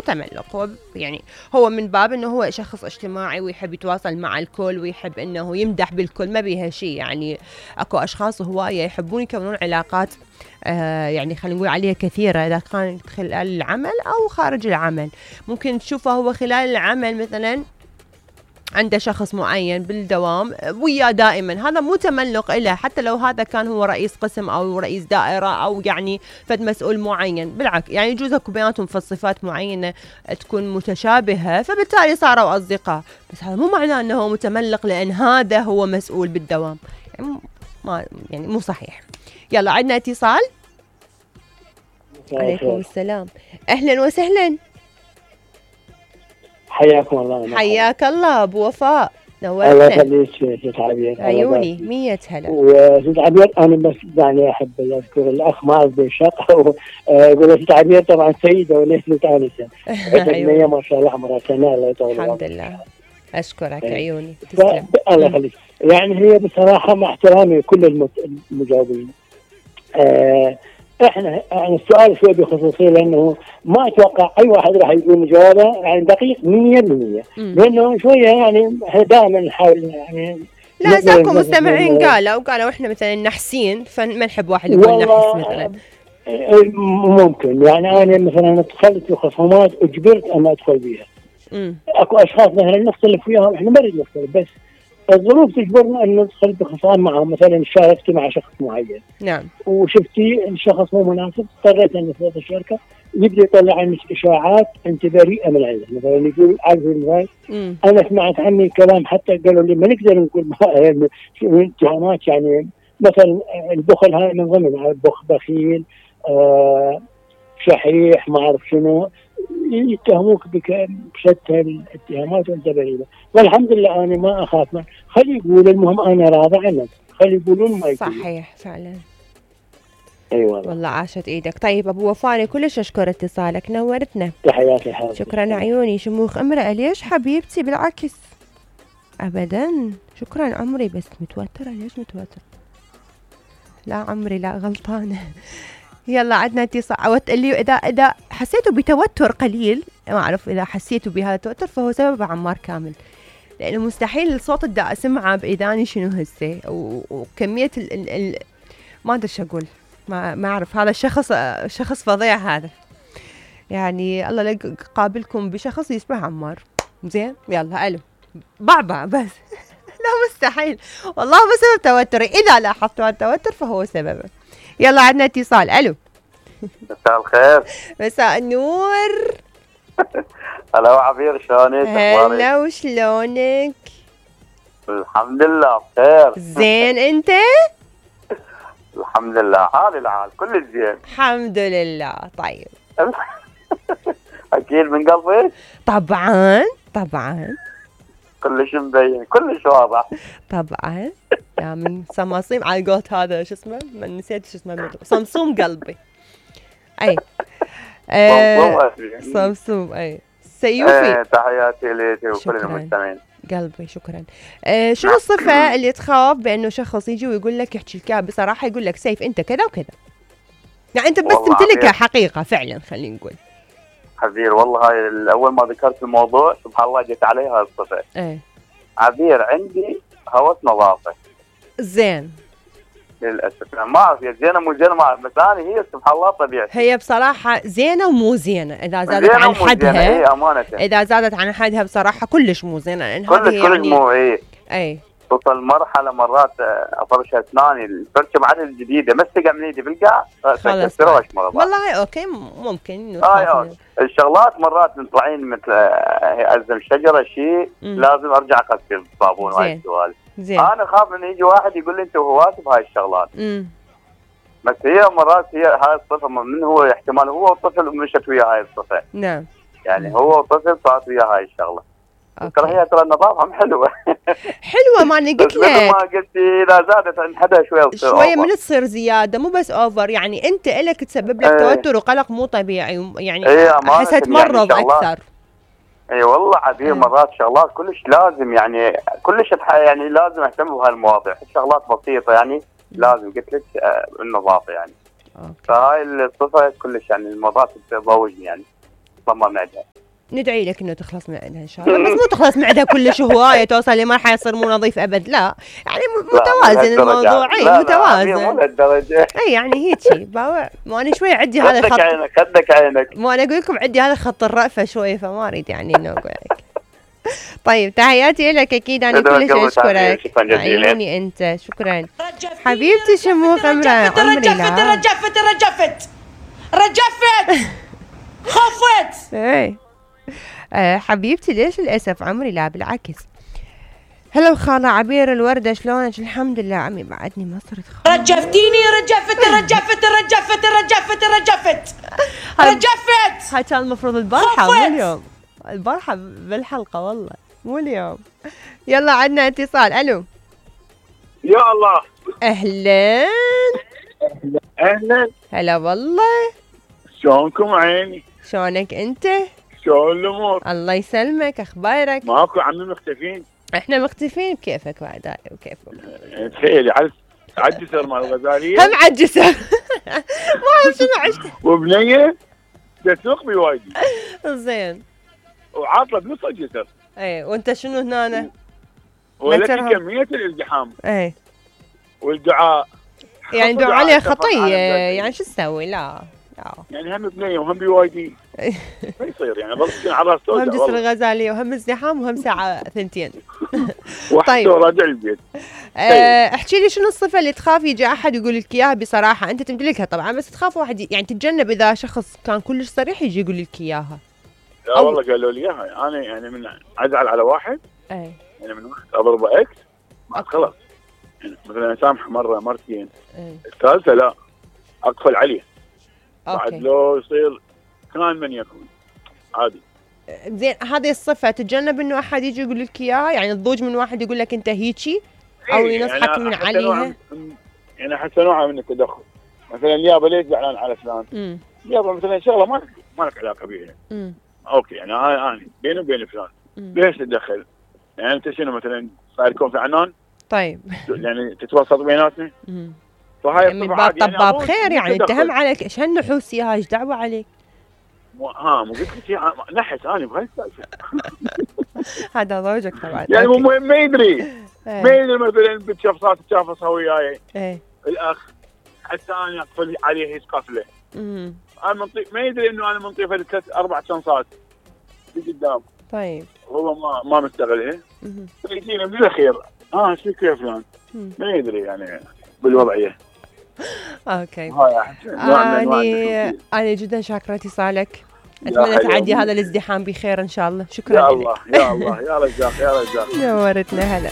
تملق، هو يعني هو من باب انه هو شخص اجتماعي ويحب يتواصل مع الكل ويحب انه يمدح بالكل، ما بيها شيء. يعني اكو اشخاص هوايه يحبون يكونون علاقات يعني خلينا نقول عليها كثيره، اذا كانت خلال العمل او خارج العمل. ممكن تشوفه هو خلال العمل مثلا عنده شخص معين بالدوام وياه دائما، هذا مو تملق له، حتى لو هذا كان هو رئيس قسم او رئيس دائره او يعني فد مسؤول معين. بالعكس يعني يجوز اكو بيناتهم في الصفات معينه تكون متشابهه، فبالتالي صاروا اصدقاء، بس هذا مو معناه انه هو متملق لان هذا هو مسؤول بالدوام. يعني ما يعني مو صحيح. يلا عندنا اتصال. عليكم السلام، اهلا وسهلا. حياكم الله. حياك الله ابو وفاء، نورتنا. الله يخليك ست عبير. عيوني 100 هلا. وست عبير انا بس يعني احب اذكر الاخ معاذ بن شق يقول ست عبير طبعا سيده وليست انسه. عندنا ما شاء الله عمرها سنه. الله يطول الحمد لله. اشكرك عيوني. تسلم. الله يخليك. يعني هي بصراحه مع احترامي كل المجاوبين، احنا يعني السؤال شوي بخصوصيه، لانه ما اتوقع اي واحد راح يقول جوابه يعني دقيق 100%، لانه شويه يعني احنا دائما نحاول يعني لا ساكو مستمعين قالوا احنا مثلا نحسين، فما نحب واحد يقول نحس مثلا. ممكن يعني انا مثلا دخلت في خصومات اجبرت ان ادخل بيها. اكو اشخاص مثلا نختلف وياهم، احنا ما نريد نختلف بس الظروف تجبرنا ان ندخل بخصام معهم. مثلا شاركت مع شخص معين، نعم، وشفتي الشخص مو مناسب، اضطريت ان افوت الشركه. يبدا يطلع عنك اشاعات انت بريئه من عنده. مثلا يقول عارف المثال، انا سمعت عني كلام حتى قالوا لي ما نقدر نقول اتهامات، يعني مثلا البخل هاي من ضمن بخيل، شحيح، ما اعرف شنو، يتهموك بشتى الاتهامات وانت بريئه. والحمد لله انا ما اخاف من خلي يقول، المهم انا راضي عنك، خلي يقولون ما يقولون. صحيح فعلا. ايوه والله عاشت ايدك. طيب ابو وفاء كلش اشكر اتصالك، نورتنا. تحياتي حبيبتي. شكرا عيوني. شموخ امرأة ليش حبيبتي؟ بالعكس ابدا. شكرا عمري، بس متوترة. ليش متوترة؟ لا عمري لا، غلطانة. يلا عندنا اتصال. اللي اذا حسيتوا بتوتر قليل، ما اعرف اذا حسيتوا بهذا التوتر فهو سبب عمار كامل، لانه مستحيل الصوت اللي اسمعه باذاني شنو هسه، وكميه ما ادري شو اقول، ما اعرف. هذا شخص فظيع هذا، يعني الله لا قابلكم بشخص يسمع عمار زين. يلا الو بعبع بس. لا مستحيل والله، بسبب توتري. اذا لاحظتوا التوتر فهو سببه. يلا عندنا اتصال. الو مساء الخير. مساء النور. هلا عبير، شلونك؟ هلا وشلونك؟ الحمد لله بخير. زين انت؟ الحمد لله، حالي الحال كل زين الحمد لله. طيب اكيد من قلبك؟ طبعا كلش مبين، كلش واضح. طبعا يا من صماصيم على قولت هذا شو اسمه، من نسيت شو اسمه، صمصوم قلبي. اي صمصوم اي سيوفي. تحياتي لك وكل المستمعين. قلبي شكرا. شنو الصفة اللي تخاف بانه شخص يجي ويقول لك، يحكي لك بصراحة، يقول لك سيف انت كذا وكذا، يعني انت بس تمتلكها حقيقة فعلا خلينا نقول. عبير والله هاي اول ما ذكرت الموضوع سبحان الله جت علي هاي الصفة. عبير عندي هوس نظافة. زين. للاسف ما اعرف هي زينه مو زينه، ما اعرف، بس انا هي سبحان الله طبيعتي. هي بصراحه زينه ومو زينه، اذا زادت عن حدها. امانه اذا زادت عن حدها بصراحه كلش مو زينه، لان هذه يعني مو اي توصل مرحله مرات افرش اسناني الفرشه بعد الجديده مسكه من ايدي بالقاع خلاص. والله اوكي ممكن الشغلات مرات طالعين مثل ازم شجره شيء لازم ارجع اغسل بالصابون وهاي السوالف. انا اخاف ان يجي واحد يقول لي انت وهواتي بهاي الشغلات. بس هي مرات هي هاي الصفه من هو احتمال هو الطفل مشت ويا هاي الصفه. نعم. يعني هو الطفل صارت ويا هاي الشغله. ترى هي ترى النظافه حلوه. حلوه ما انا قلت لك. ما قلتي اذا زادت عن حدها شويه من تصير زياده، مو بس اوفر، يعني انت الك تسبب لك توتر وقلق مو طبيعي، يعني احسها تمرض يعني اكثر. اي والله عبير مرات شغلات كلش لازم، يعني كلش يعني لازم اهتم بهالمواضيع، شغلات بسيطه يعني لازم قلت لك النظافه يعني. فهاي الصفه كلش يعني المرات تضوجني يعني. تخلص معدها. ندعي لك انه تخلص معدها ان شاء الله، بس مو تخلص معدها كلش هوايه توصل لمرحله يصير مو نظيف ابد، لا يعني متوازن الموضوع. اي متوازن مو لهالدرجه. اي يعني هيجي ما انا شوي عندي هذا الخط. خدك عينك. ما انا اقول لكم عندي هذا خط الرأفه شوي، فما اريد يعني انه اقول لك. طيب تحياتي لك اكيد، انا كلش اشكرك. عيوني انت، شكرا حبيبتي شموخ عمري. رجفت خفت. اي حبيبتي ليش للاسف عمري؟ لا بالعكس. هلا خالة عبير الوردة، شلونك؟ الحمد لله عمي، بعدني ما صرت خالة. رجفتيني. رجفت. هاي كان المفروض البارحة مو اليوم، البارحة بالحلقة والله مو اليوم. يلا عندنا اتصال. الو يا الله. اهلا اهلا. هلا والله. شلونكم عيني؟ شلونك انت؟ شلون الامور؟ الله يسلمك، اخبارك؟ ماكو عمي مختفين؟ احنا مختفين بكيفك بعد هاي وكيفكم. تخيلي عالجسر مال الغزاليه هم عالجسر. ما اعرف شنو عشت. وبنيه تسوق بوايدي زين وعاطله بنص الجسر. اي وانت شنو هنا؟ ولك كميه الازدحام. اي والدعاء يعني دعاء عليه خطيه، يعني شو تسوي؟ لا يعني هم بنيه وهم بوايدي ما يصير، يعني ظل على راس هم جسر الغزاليه وهم ازدحام وهم ساعه ثنتين. طيب راجع البيت. احكي لي شنو الصفه اللي تخاف يجي احد يقول لك اياها بصراحه؟ انت تمتلكها طبعا، بس تخاف واحد يعني تتجنب اذا شخص كان كلش صريح يجي يقول لك اياها. لا والله قالوا لي اياها، انا يعني من ازعل على واحد يعني من واحد اضربه اكس بعد خلاص، يعني مثلا اسامح مره مرتين، الثالثه لا اقفل عليه بعد لو يصير كان من يكون عادي. زين هذه الصفه تتجنب انه احد يجي يقول لك اياها، يعني تضوج من واحد يقول لك انت هيجي او ينصحك يعني من عليها. يعني حتى نوع من التدخل، مثلا يابا ليش زعلان على فلان؟ يابا مثلا شغله ما لك علاقه بيها. اوكي يعني انا بيني وبين فلان ليش تتدخل؟ يعني انت شنو مثلا صار يكون في عنان؟ طيب يعني تتوسط بيناتنا؟ فهاي من باب طباب خير، يعني اتهم عليك ايش هالنحوسيه هاي؟ ايش دعوه عليك؟ مو قلت لك نحس انا بهالسالفه. هذا زوجك طبعا يعني مو مهم، ما يدري مثلا بتشفصات تشافصها وياي الاخ حتى انا اقفل عليه يسقف له. انا ما يدري انه انا منطيفه ثلاث اربع شنصات في قدام. طيب هو ما مستغلها. يجينا من الاخير ايش فيك يا فلان؟ ما يدري يعني بالوضعيه. اوكي أنا جدا شاكرة اتصالك، اتمنى تعدي هذا الازدحام بخير ان شاء الله. شكرا يا الله يا الله يا رزاق يا رزاق. نورتنا. هلا